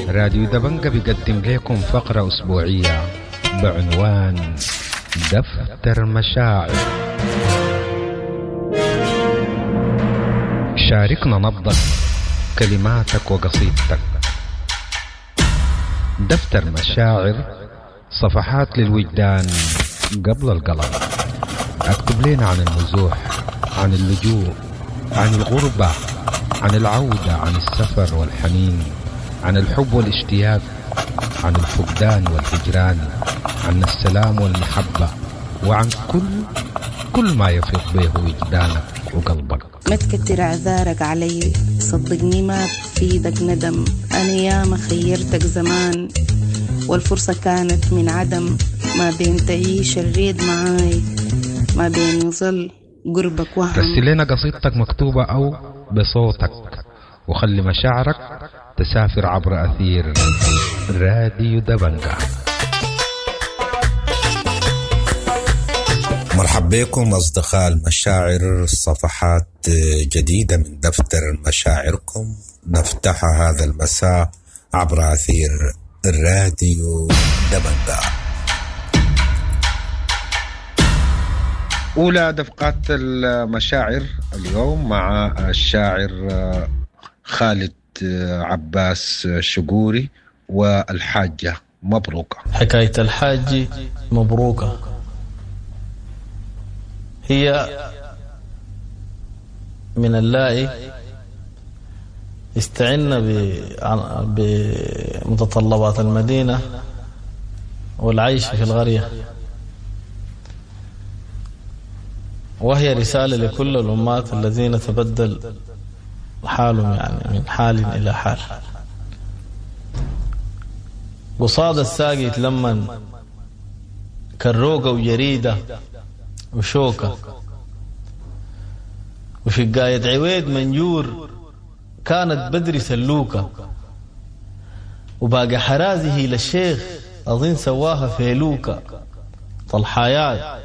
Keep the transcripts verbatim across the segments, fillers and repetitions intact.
راديو دبنجة بيقدم لكم فقرة أسبوعية بعنوان دفتر مشاعر. شاركنا نبضك، كلماتك وقصيدتك. دفتر مشاعر، صفحات للوجدان قبل القلم. اكتب لنا عن النزوح، عن اللجوء، عن الغربة، عن العودة، عن السفر والحنين، عن الحب والاشتياق، عن الفقدان والهجران، عن السلام والمحبة، وعن كل كل ما يفيض به وجدانك وقلبك. ما تكتر اعذارك علي، صدقني ما بفيدك ندم. انا ياما خيرتك زمان والفرصة كانت من عدم. ما بين تعيش الريد معاي، ما بين يظل قربك وهم. رسل لنا قصيدتك مكتوبة أو بصوتك، وخلي مشاعرك تسافر عبر أثير راديو دبنجة. مرحب بكم أصدقاء المشاعر، صفحات جديدة من دفتر مشاعركم نفتحها هذا المساء عبر أثير الراديو دبنجة. أولى دفقات المشاعر اليوم مع الشاعر خالد عباس شقوري والحاجة مبروكة. حكاية الحاج مبروكة هي من اللائي استعنا بمتطلبات المدينة والعيش في القرية، وهي رسالة لكل الأمات الذين تبدل حالهم يعني من حال إلى حال. قصاد الساقي يتلمن كروقة وجريدة وشوكة، وشقاية عويد منجور كانت بدري سلوكة، وباقي حرازه للشيخ أظن سواها فيلوكة. طلحايات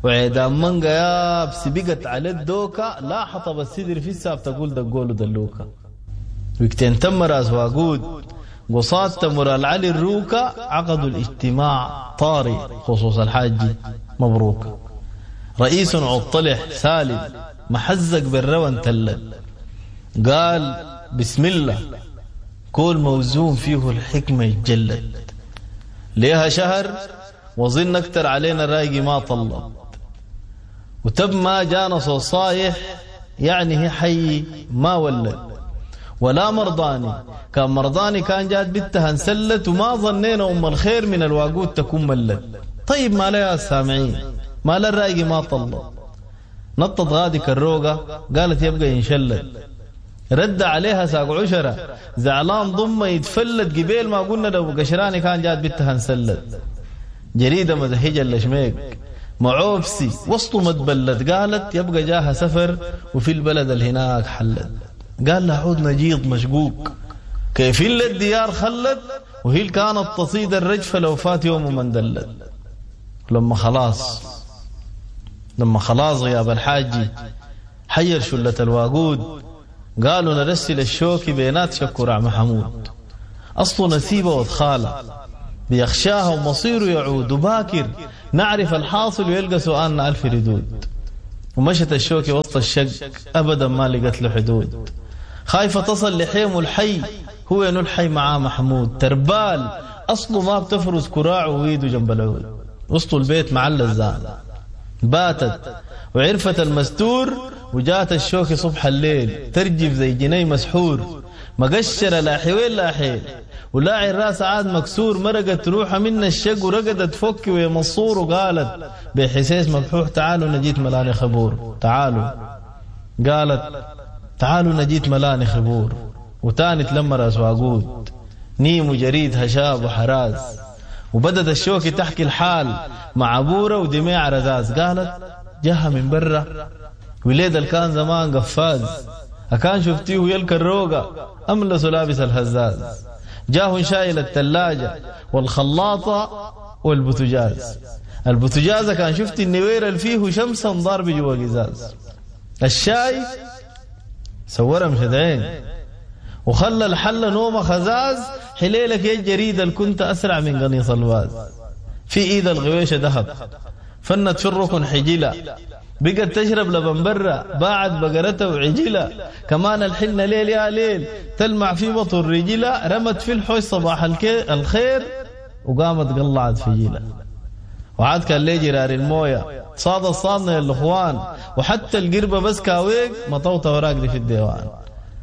وعيدان منقا يابس بقت على الدوكة، لا حطب السدر في الساب تقول دقولو دلوكة. وقتين تم راس واقود قصاد تمر العلي الروكة، عقدوا الاجتماع طاري خصوص الحاج مبروك. رئيس عطلح سالم محزق بالروان تلل، قال بسم الله كل موزون فيه الحكمة يتجلد. ليها شهر وظن اكتر علينا الرايقي ما طلب، وتب ما جانا صوت صايح يعني هي حي ما ولد ولا مرضاني. كان مرضاني كان جات بنتها انسلت، وما ظنينا ام الخير من الواقود تكون ملت. طيب ما لها السامعين ما لا الرايقي ما طلب. نطت غادي كالروقة قالت يبقى ينشلت. رد عليها ساق عشرة زعلان ضمه يتفلت، قبيل ما قلنا لو قشراني كان جات بنتها انسلت. جريدة مزهجة اللشميك معوبسي وسطه ما تبلت، قالت يبقى جاها سفر وفي البلد اللي هناك حلت. قال لها عود نجيض مشقوق كيف إلا الديار خلت، وهي كانت تصيد الرجفة لو فات يوم من دلت. لما خلاص لما خلاص غياب الحاجي حير شلة الواقود، قالوا نرسل الشوكي بينات شكر محمود. أصله نسيبه وادخاله بيخشاها ومصيره يعود، وباكر نعرف الحاصل ويلقى سؤالنا ألف ردود. ومشت الشوكي وسط الشق أبدا ما لقت له حدود، خايفة تصل لحيم الحي هو ينو الحي معاه محمود. تربال أصله ما بتفرز كراعه ويده جنب العود، وسط البيت مع اللزان باتت وعرفت المستور. وجات الشوكي صبح الليل ترجف زي جني مسحور، مقشرة لا حويل لا حيل ولاعي الراس عاد مكسور. مرقت روحها من الشق ورقدت فك ومنصور، وقالت بحسيس مبحوح تعالوا نجيت ملاني خبور. تعالوا قالت تعالوا نجيت ملاني خبور. وتاني تلم راس واقود نيم وجريد هشاب وحراز، وبدت الشوكي تحكي الحال مع بورة ودميع رزاز. قالت جاها من برا وليد اللي كان زمان قفاز، أكان شفتيه يلك الروقة أملس لابس الهزاز. جاه شايل الثلاجة والخلاطة والبوتجاز، البوتجازة كان شفت النوير اللي فيه شمسا ضارب جوا قزاز. الشاي سورها مشدعين وخلى الحلة نومة خزاز. حليلك يا الجريدة اللي كنت أسرع من قنيص الواز. في إيد الغويشة ذهب فنت في الركن حجلة، بقت تشرب لبن برا باعت بقرتها وعجلة. كمان الحنة ليل يا ليل تلمع في بطن رجلة، رمت في الحوش صباح الخير وقامت قلعت في جيلة. وعاد كان ليه جرار الموية صاد الصادنا يا الاخوان، وحتى القربة بس كاويق مطوطة وراقدي في الديوان.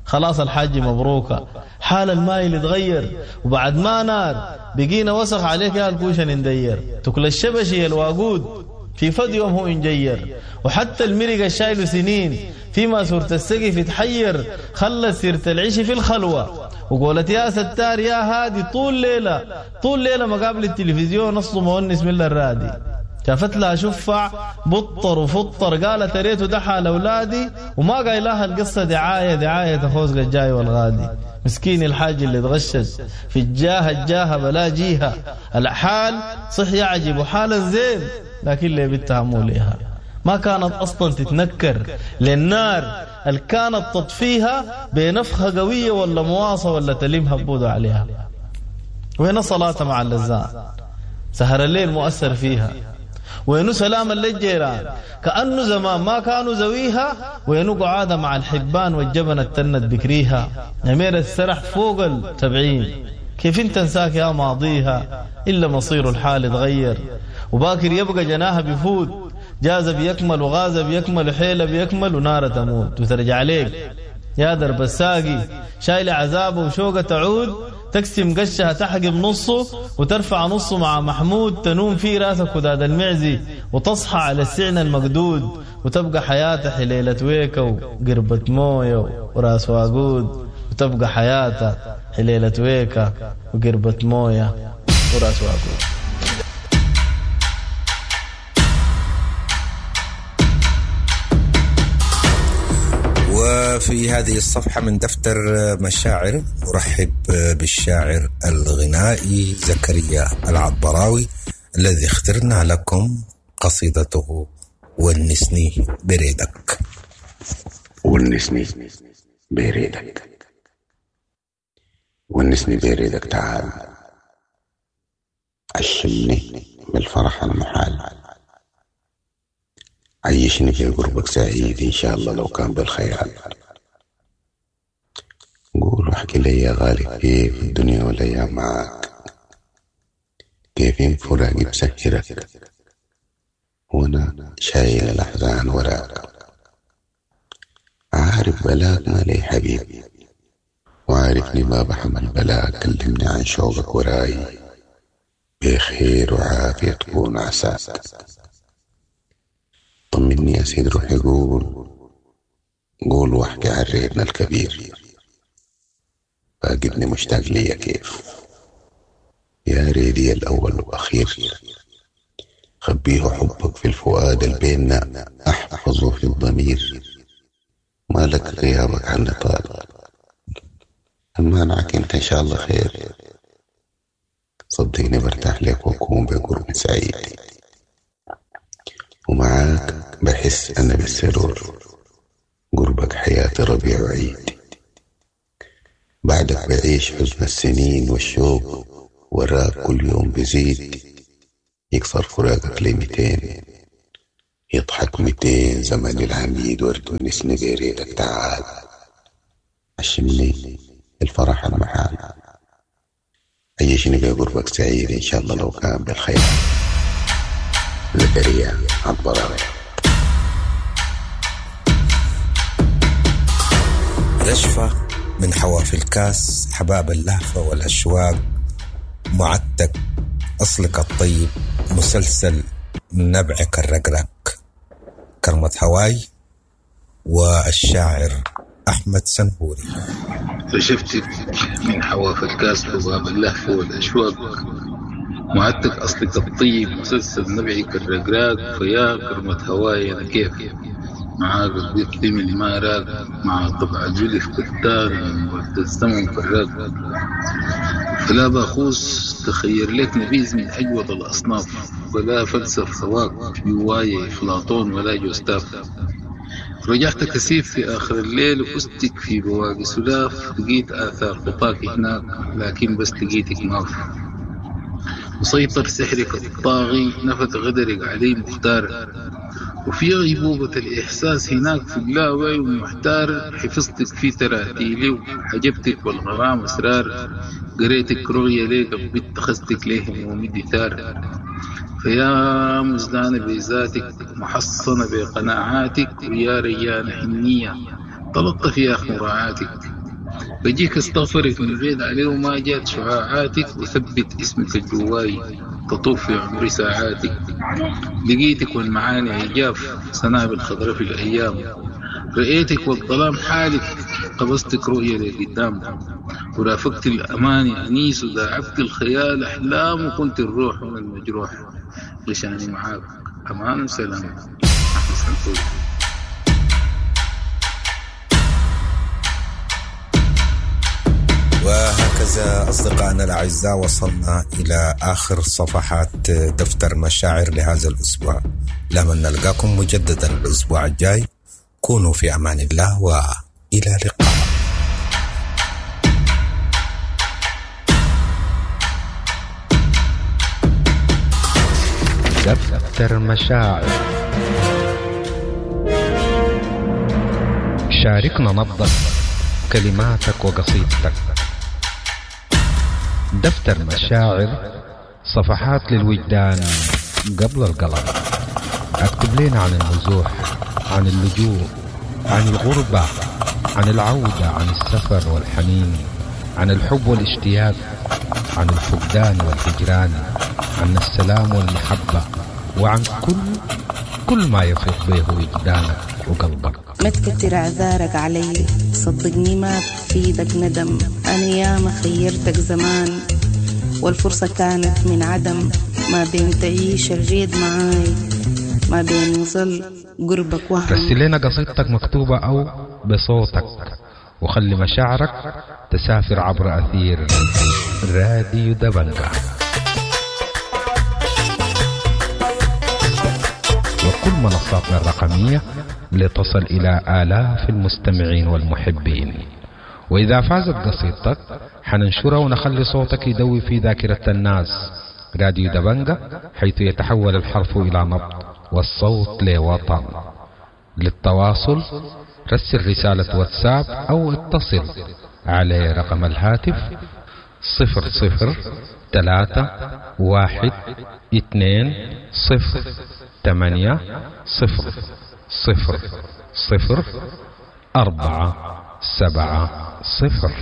خلاص الحاج مبروكة حال المايل اتغير، وبعد ما نار بقينا وسخ عليك يا الكوشة ندير. تكل الشبشي الواقود في فد يوم هو انجير، وحتى المرق الشايل سنين فيما سورة السقف يتحير. خلى سيرة العيش في الخلوة وقولت يا ستار يا هادي طول ليلة طول ليلة مقابل التلفزيون أصله مونس من الرادي. شافت لها شفع بطر وفطر قالت ريته دحى لأولادي، وما قايلها القصة دعاية دعاية تخوز الجاي والغادي. مسكين الحاج اللي تغشش في الجاهة الجاهة بلا جيها، الحال صح يعجب وحالا زين لكن اللي بنتها مو ليها. ما كانت أصلا تتنكر للنار اللي كانت تطفيها بنفخة قوية ولا مواصة ولا تلم هبودة عليها. وين صلاة مع اللزان سهر الليل مؤثر فيها، وينو سلام للجيران كأنه زمان ما كانوا زويها، وينو قعادة مع الحبان والجبن التند بكريها. أمير السرح فوق التبعين كيف انت انساك يا ماضيها، إلا مصير الحال تغير. وباكر يبقى جناها بيفوت، جاز بيكمل وغاز بيكمل وحيلة بيكمل ونار تموت وترجع عليك يا درب الساقي شايل عذابه وشوقه تعود. تقسم قشها تحقب نصه وترفع نصه مع محمود، تنوم في راسك وداد المعزي وتصحى على السعن المقدود، وتبقى حياته حليلة ويكا وقربة موية وراس واقود. وتبقى حياته حليلة ويكا وقربة موية وراس واقود. وفي هذه الصفحة من دفتر مشاعر أرحب بالشاعر الغنائي زكريا العطبراوي الذي اخترنا لكم قصيدته ونسني بريدك. ونسني بريدك، ونسني بريدك، تعال عشمني بالفرح المحال، عيشني في قربك سعيد إن شاء الله لو كان بالخيال. قول واحكي لي يا غالي كيف الدنيا والأيام معاك، كيف فراقي بسهرك وأنا شايل الأحزان وراك. عارف بلاك ما لي حبيب، وعارفني ما بحمل بلاك، كلمني عن شوقك وراي بخير وعافية تكون عساك. طمني يا سيد روحي قول قول واحكي عن ريتنا الكبير، فاقدني مشتاق ليا كيف يا ريدي الأول وأخير. خبيه حبك في الفؤاد البيننا أحفظه في الضمير، مالك غيابك عنا طال المانعك انت إن شاء الله خير. صدقني برتاح لك وأكون بقرب سعيد، ومعاك بحس أنا بالسرور، قربك حياتي ربيع وعيد. بعدك بعيش حزن السنين والشوق وراك كل يوم بزيد، يكسر فراقك لمتين يضحك متين زمن العميد. ورد نسني بريدك تعال عشمني الفرح المحال، عيشني بقربك سعيد إن شاء الله لو كان بالخير. زكريا عطبراوي. رشفة من حواف الكاس، حباب اللهفة والأشواق، معتك أصلك الطيب، مسلسل نبعك الرقرق، كرمة هواي، والشاعر أحمد سنهوري. رشفتك من حواف الكاس حباب اللهفة والأشواق، معدتك أصلك الطيب، مسلسل نبعك الرقراق، فيا كرمة هواي أنا كيف معاك الضيف من ما راق، مع طبع الجلف كتار وقت الزمن فراق. فلا باخوس تخير لك نبيذ من أجود الأصناف، ولا فلسف سواق في واي أفلاطون ولا جوستاف. رجعت كثيف في آخر الليل وفزتك في بواقي سلاف، لقيت آثار خطاك هناك لكن بس لقيتك ماف. مسيطر سحرك الطاغي نفت غدرك علي مختار، وفي غيبوبة الإحساس هناك في اللاوعي ومحتار. حفظتك في تراتيلي وحجبتك والغرام أسرار، قريتك رؤية ليك بنت خستك ليه همومي دثار. فيا مزدانة بذاتك محصنة بقناعاتك، ويا ريانة حنية تلطف يا أخ مراعاتك. بجيك استغفرك من بعيد عليه وما جات شعاعاتك، وثبت اسمك الجواي تطوف في عمري ساعاتك. لقيتك والمعاني عجاف سنابل خضراء في الأيام، رأيتك والظلام حالك قبضتك رؤية لقدام. ورافقت الأماني أنيس وداعبت الخيال أحلام، وكنت الروح من المجروح غشاني معاك أمان وسلام. أحمد سنهوري. وهكذا أصدقائنا الأعزاء وصلنا إلى آخر صفحات دفتر مشاعر لهذا الأسبوع. لمن نلقاكم مجددا الأسبوع الجاي، كونوا في أمان الله وإلى اللقاء. دفتر مشاعر، شاركنا نبضك كلماتك وقصيدتك. دفتر مشاعر، صفحات للوجدان قبل القلم. اكتب لنا عن النزوح، عن اللجوء، عن الغربة، عن العودة، عن السفر والحنين، عن الحب والاشتياق، عن الفقدان والهجران، عن السلام والمحبة، وعن كل كل ما يفيض به وجدانك وقلبك. ما تكتر اعذارك علي، صدقني ما بفيدك ندم. انا ياما خيرتك زمان والفرصة كانت من عدم، ما بين تعيش الريد معاي ما بين يظل قربك وهم. رسل لنا قصيدتك مكتوبة أو بصوتك، وخلي مشاعرك تسافر عبر أثير راديو دبنجا وكل منصاتنا الرقمية لتصل إلى آلاف المستمعين والمحبين. وإذا فازت قصيدتك حننشرها ونخلي صوتك يدوي في ذاكرة الناس. راديو دبنجا، حيث يتحول الحرف إلى نبض والصوت لوطن. للتواصل رسل رسالة واتساب أو اتصل على رقم الهاتف صفر صفر ثلاثة واحد اثنين صفر ثمانية صفر صفر صفر أربعة سبعة صفر.